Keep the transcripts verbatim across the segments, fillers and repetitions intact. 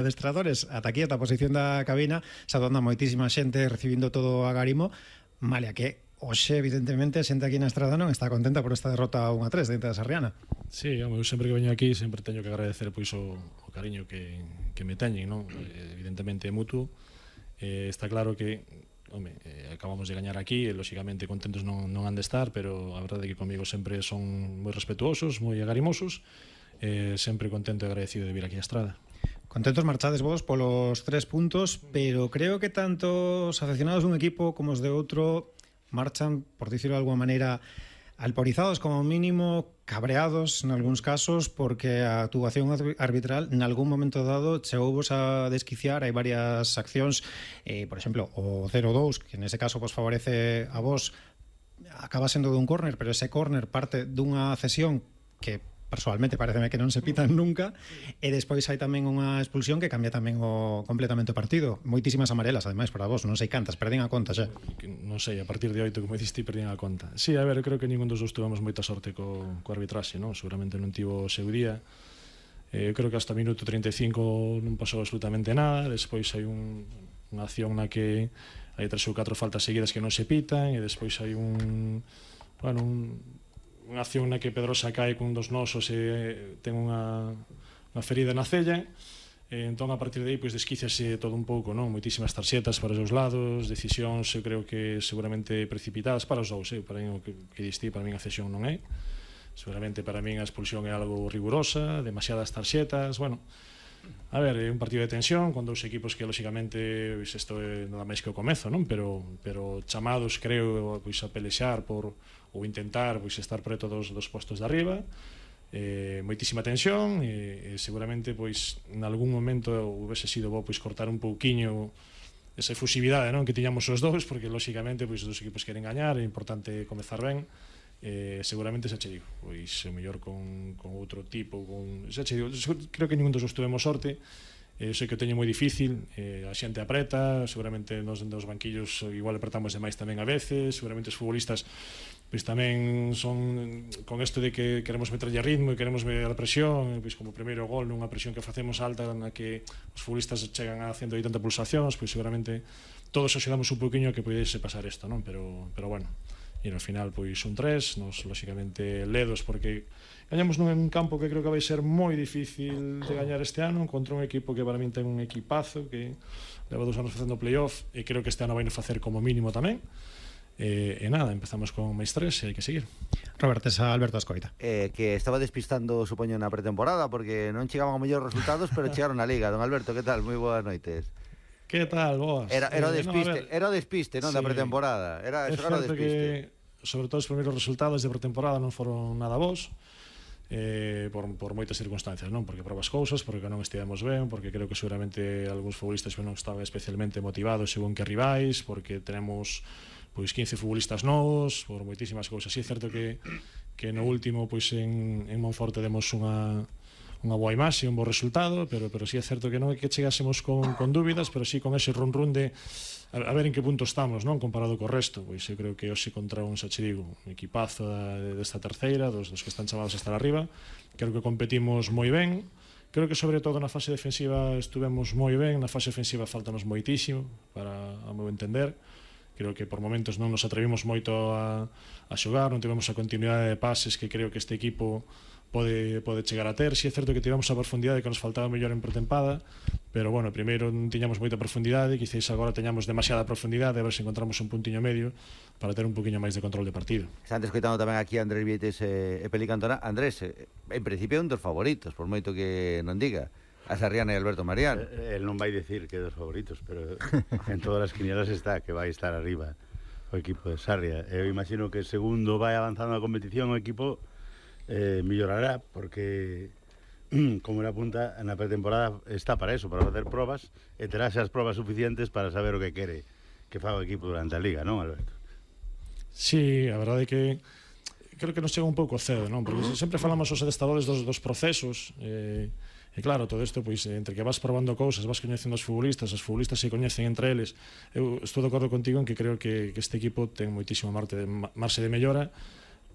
adestradores ata aquí, ata a posición da cabina, saudando a moitísima xente, recibindo todo a garimo, malia que hoxe, evidentemente, a xente aquí na estrada non está contenta por esta derrota un a tres dentro da Sarriana. Sí, eu sempre que veño aquí sempre teño que agradecer pois o, o cariño que, que me teñen, non? Evidentemente é mutuo. Eh, está claro que home, eh, acabamos de gañar aquí e lóxicamente contentos non, non han de estar, pero a verdade é que comigo sempre son moi respetuosos, moi agarimosos, eh, sempre contento e agradecido de vir aquí á estrada. Contentos marchades vos polos tres puntos, pero creo que tanto os aficionados dun equipo como os de outro marchan, por dicirlo de alguma maneira, alporizados, como mínimo cabreados en algúns casos, porque a actuación arbitral en algún momento dado chegouvos a desquiciar. Hai varias accións, eh, por exemplo, o cero dous, que nese caso vos favorece a vos, acaba sendo dun córner, pero ese córner parte dunha cesión que personalmente pareceme que non se pitan nunca, e despois hai tamén unha expulsión que cambia tamén o completamente o partido. Moitísimas amarelas, ademais, para vos, non sei cantas, perdín a conta xa. Non sei, a partir de oito, como diciste, perdín a conta. Sí, a ver, eu creo que ningún dos dos tuvemos moita sorte co, co arbitraxe, non? Seguramente non tivo o seu día. Eh, eu creo que hasta o minuto trinta e cinco non pasou absolutamente nada, despois hai un, unha acción na que hai tres ou catro faltas seguidas que non se pitan, e despois hai un... bueno, un unha acción na que Pedrosa cae cun dos nosos e ten unha, unha ferida na cella, e entón a partir de aí pois desquíciase todo un pouco, non? Moitísimas tarxetas para os dous lados, decisións eu creo que seguramente precipitadas para os dous, eh? Para mí o que, que diste, para mí a cesión non é, seguramente para mí a expulsión é algo rigurosa, demasiadas tarxetas, bueno, a ver, é un partido de tensión con dous equipos que lóxicamente pois isto é nada máis que o comezo, non? Pero pero chamados, creo, pois a pelexar por ou intentar pois estar preto dos dos postos de arriba. Eh, moitísima tensión e, e seguramente pois en algún momento houvese sido bo pois cortar un pouquiño esa efusividade, non, que tiñamos os dous, porque lóxicamente pois os dos equipos queren gañar, é importante comezar ben. Eh, seguramente xa che digo, pois o mellor con, con outro tipo, con, xa che digo, creo que ningún dos os tuvemos sorte. Eh, sei que o teño moi difícil, eh, a xente apreta, seguramente nos dos banquillos igual apretamos demais tamén a veces, seguramente os futbolistas pois tamén son con isto de que queremos meterlle ritmo e queremos ver a presión, pois como o primeiro gol nunha presión que facemos alta na que os futbolistas chegan a ciento oitenta pulsacións, pois seguramente todos axudamos un poquinho a que pudese pasar isto, non? Pero, pero bueno, e no final pois un tres, nos lóxicamente ledos porque gañamos nun campo que creo que vai ser moi difícil de gañar este ano contra un equipo que para min ten un equipazo que leva dos anos facendo playoff e creo que este ano vai facer como mínimo tamén. E, e nada, empezamos con máis tres e hai que seguir. Roberto, esa Alberto Ascoita. Eh, que estaba despistando, supoño, na pretemporada porque non chegaban a mellores resultados, pero chegaron na Liga. Don Alberto, que tal? Moi boas noites. Que tal, vos? Era, era o despiste, eh, no, era o despiste, non, sí, da pretemporada. Era é xogar o que, despiste. sobre todo os primeiros resultados de pretemporada non foron nada bons. Eh, por, por moitas circunstancias, non? Porque probas cousas, porque non estivemos ben, porque creo que seguramente algúns futbolistas non estaban especialmente motivados según que rivais, porque tenemos pois quince futbolistas novos, por moitísimas cousas. Si é certo que, que no último pois en, en Monforte demos unha unha boa imaxe, un bo resultado, pero pero si é certo que non é que chegásemos con, con dúbidas, pero si con ese run run de a, a ver en que punto estamos, non, comparado co resto. Pois eu creo que hoxe contra un, xa che digo, un equipazo desta terceira, dos, dos que están chamados a estar arriba, creo que competimos moi ben. Creo que sobre todo na fase defensiva estuvemos moi ben, na fase ofensiva faltanos moitísimo para a meu entender. Creo que por momentos non nos atrevimos moito a, a xogar, non tivemos a continuidade de pases que creo que este equipo pode, pode chegar a ter. Si é certo que tivemos a profundidade que nos faltaba mellor en pretempada, pero bueno, primeiro non tiñamos moita profundidade, quizás agora teñamos demasiada profundidade, a ver se encontramos un puntiño medio para ter un poquinho máis de control de partido. Está escoitando tamén aquí a Andrés Vietes e, e Peli Cantona. Andrés, en principio é un dos favoritos, por moito que non diga. A Sarriana e Alberto Marián. El non vai decir que é dos favoritos, pero en todas as quinielas está que vai estar arriba o equipo de Sarria. Eu imagino que segundo vai avanzando a competición o equipo eh, millorará, porque como era apunta, na pretemporada está para eso, para facer probas e terá as probas suficientes para saber o que quere que faga o equipo durante a Liga, non, Alberto? Sí, a verdade é que creo que nos chega un pouco cedo, non? Porque sempre falamos os adestadores dos, dos procesos e eh, E claro, todo isto, pois, entre que vas probando cousas, vas coñecendo os futbolistas, os futbolistas se coñecen entre eles. Eu estou de acordo contigo en que creo que, que este equipo ten moitísimo marxe de, marxe de mellora,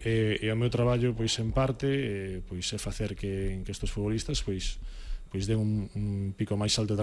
e, e o meu traballo, pois, en parte, e, pois, é facer que, que estes futbolistas, pois, pois den un, un pico máis alto de